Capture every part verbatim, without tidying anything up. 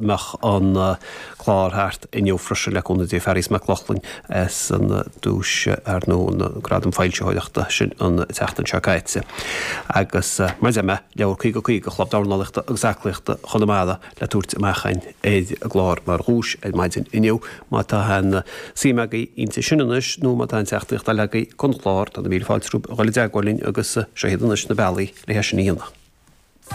mbeadh an clár thart inniu freisin le cúnamh Dé Fearghas Mac Lochlainn as an duais ar nó an gradam foilsitheoireachta sin an tseachtain seo caite. Agus mar a deir mé leabhar caoga caoga Chlub Dornálaíochta agus Aclaíochta Chonamara le tabhairt amach againn ar an gclár mar dhuais ar maidin inniu má tá aon suim agaibh inti sin anois nó má tá aon teachtaireacht eile agaibh don chlár tá na míle fáilte romhaibh a dhul i dteagmháil linn agus seo iad anois na bealaí le hé sin a dhéanamh.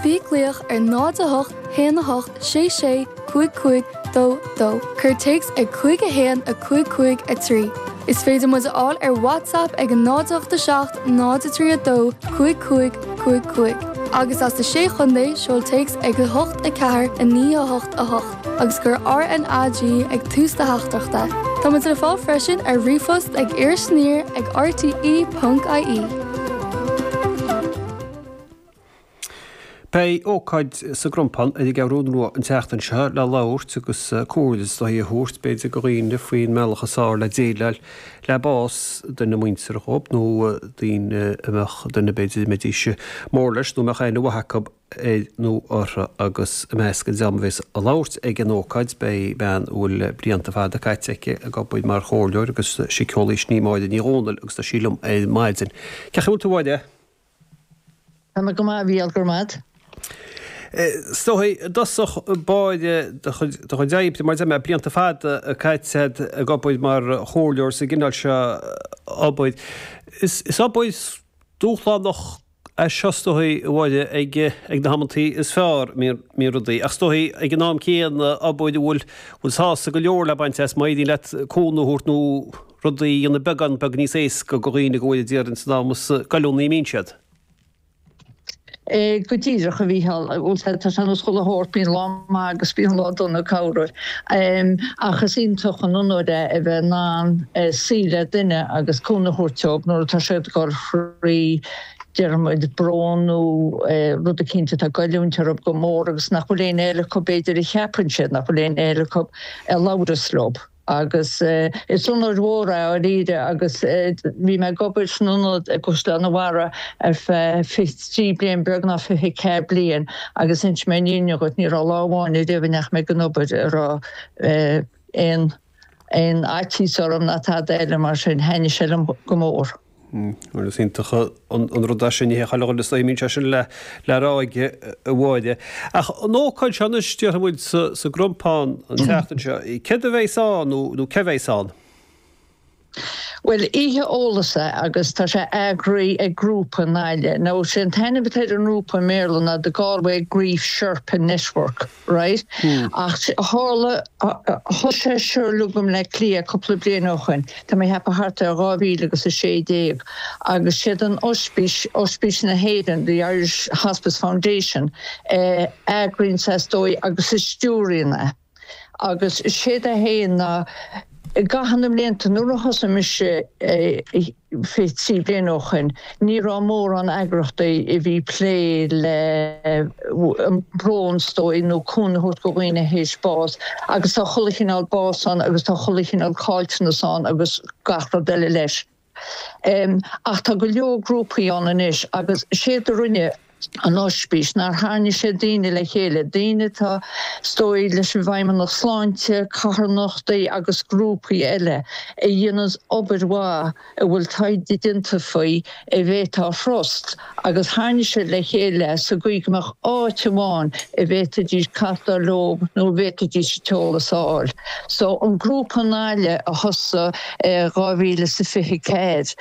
Bí ag glaoch ar náid a hocht haon a hocht sé sé cúig cúig dó dó. Cuir téacs ag cúig a haon a cúig cúig a trí. Is féidir muid a fháil ar WhatsApp ag an náid ocht a seacht náid a trí a dó cúig cúig cúig cúig. Agus as na sé chontae seol téacs ag a hocht a ceathair a naoi a hocht a hocht, agus cuir RNAG ag tús do theachtaireachta. Tá muid le fáil freisin ar ríomhphost ag irisaniar ag rte.ie. Beidh ócáid sa gCrompán ar an gCeathrú Rua an tseachtain seo le labhairt agus comhairle is dóigh a thabhairt b'fhéidir do dhaoine faoin mbealach is fearr le déileáil le bás duine muinteartha dhóibh nó daoine a mbeadh duine b'fhéidir a mbeidís mór leis nó a mbeadh aithne mhaith acu air nó orthu agus i measc an dream a bheas ag labhairt ag an ócáid beidh bean a bhfuil blianta fada caite aici ag obair mar chomhairleoir agus síceolaí sin í Máire Ní Dhomhnaill agus tá sí liom ar maidin. Cén chaoi a bhfuil tú a Mháire? Tá mé go maith a Mhícheáil, go raibh maith. Is dóigh i dtosach báire do chuid oibre, mar a deir mé, blianta fada caite agat ag obair mar chomhairleoir sa gcineál seo obair. Is obair dúshlánach é seo is dóigh, a Mháire, ag na hamantaí is fearr, mbíonn rudaí. Ach is dóigh ag an am céanna obair a bhfuil sásamh go leor le baint as má éiríonn leat cúnamh a thabhairt nó rudaí a dhéanamh beagán beag níos éasca do dhaoine go bhfuil a déarfainn san am is goilliúnaí a mbíonn siad. Go díreach, a Mhícheáil. Bhuel, tá sé ar nós chuile shórt, bíonn lá maith agus bíonn lá dona corruair. Ach is iontach an onóir é a bheith in ann suí le duine agus cúnamh a thabhairt dóibh nuair atá siad ag dul thrí, déarfaidh muid, brón nó rud eicínt atá ag goilliúint orthu go mór agus nach bhfuil éinne eile acu, b'fhéidir, a cheapann siad nach bhfuil éinne eile acu a labhras leo. Agus is onóir mhór é dháiríre agus bhí mé ag obair san ionad i gCaisleán an Bharraigh ar feadh fiche trí bliain, beagnach fiche ceathair bliain agus inseoidh mé an fhírinne dhuit, ní raibh lá amháin ariamh a ndeachaigh mé ag an obair a raibh aon aon fhaitíos orm ná tada eile mar sin, thaitnigh sé liom go mór. Bhuel, is iontach an rud é sin, ní hé chuile dhuine is dóigh a mbíonn sé sin le rá aige, a Mháire. Ach an ócáid seo anois, déarfaidh muid, sa gCrompán an tseachtain seo, céard a bheas ann nó cé bheas ann? Bhuel, oíche eolais é agus tá sé eagraithe ag grúpa i nGaillimh. Now, sé an t-ainm atá ar an ngrúpa i mBéarla ná The Galway Grief Sherpa Network. Right? Ach tharla, thosaigh sé seo uilig i mBleá Cliath cúpla bliain ó shoin, tá mé ag ceapadh thart ar dhá mhíle agus a sé déag, agus siad an Ospís, Ospís na hÉireann, The Irish Hospice Foundation, a eagraíonn é is dóigh agus a stiúraíonn é. Agus séard é féin ná i gcaitheamh na mblianta, nuair a thosaigh mise fiche trí bliain ó shoin, ní raibh mórán eagrachtaí a bhí plé le an brón is dóigh nó cúnamh a thabhairt do dhaoine théis bás agus tá chuile chineál bás ann agus tá chuile chineál caillteanas ann agus gach rud eile leis. Ach tá go leor grúpaí ann anois agus séard a rinne an Ospís ná tharraing sé daoine le chéile, daoine atá is dóigh leis an bhFeidhmeannacht Sláinte, carthanachtaí agus grúpaí eile a dhéananns obair mhaith a bhfuil taighde déanta faoi a bhféadfá a thrust agus tharraing siad le chéile sa gcaoi go mbeadh áit amháin a bhféadfaidís castáil leo nó a bhféadfaidís an t-eolas a fháil. So an grúpa i nGaillimh a thosaigh i dhá mhíle is a fiche ceathair,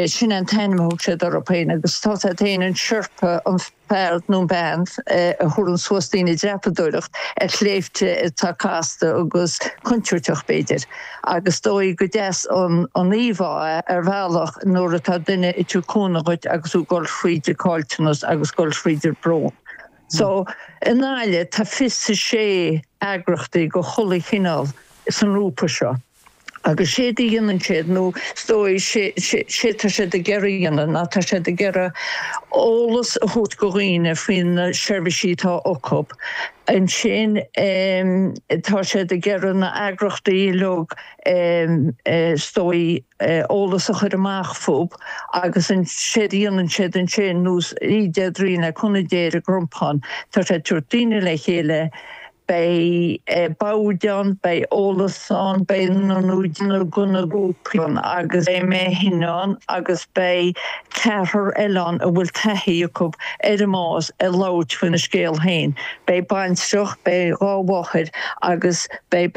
sin an t-ainm a thug siad orthu féin agus tá siad féin an Sherpa, an fear nó an bean a thabharann suas daoine ag dreapadóireacht ar shléibhte atá casta agus contúirteach b'fhéidir agus is dóigh gur deas an íomhá é ar bhealach nuair atá duine ag tabhairt cúnamh dhuit agus tú ag dul thríd an caillteanas agus ag dul thríd an brón. So i nGaillimh tá fiche a sé eagrachtaí de chuile chineál san ngrúpa seo. Agus séard a dhéanann siad, nó is dóigh, séard tá siad ag iarraidh a dhéanamh, ná tá siad ag iarraidh eolas a thabhairt go dhaoine faoi na seirbhísí atá acu. Ansin tá siad ag iarraidh na eagrachtaí uilig, is dóigh, eolas a chur amach fúthu agus séard a dhéanann siad ansin, nó oíche Déardaoin le cúnamh Dé ar an gCrompán, tá siad ag tabhairt daoine le chéile, Beidh boird ann, beidh eolas ann, beidh na na grúpaí ann agus beidh mé féin ann agus beidh ceathrar eile ann a bhfuil taithí acu ar an mbás ag labhairt faoina scéal féin. Beidh baintreach, beidh dhá mháthair agus beidh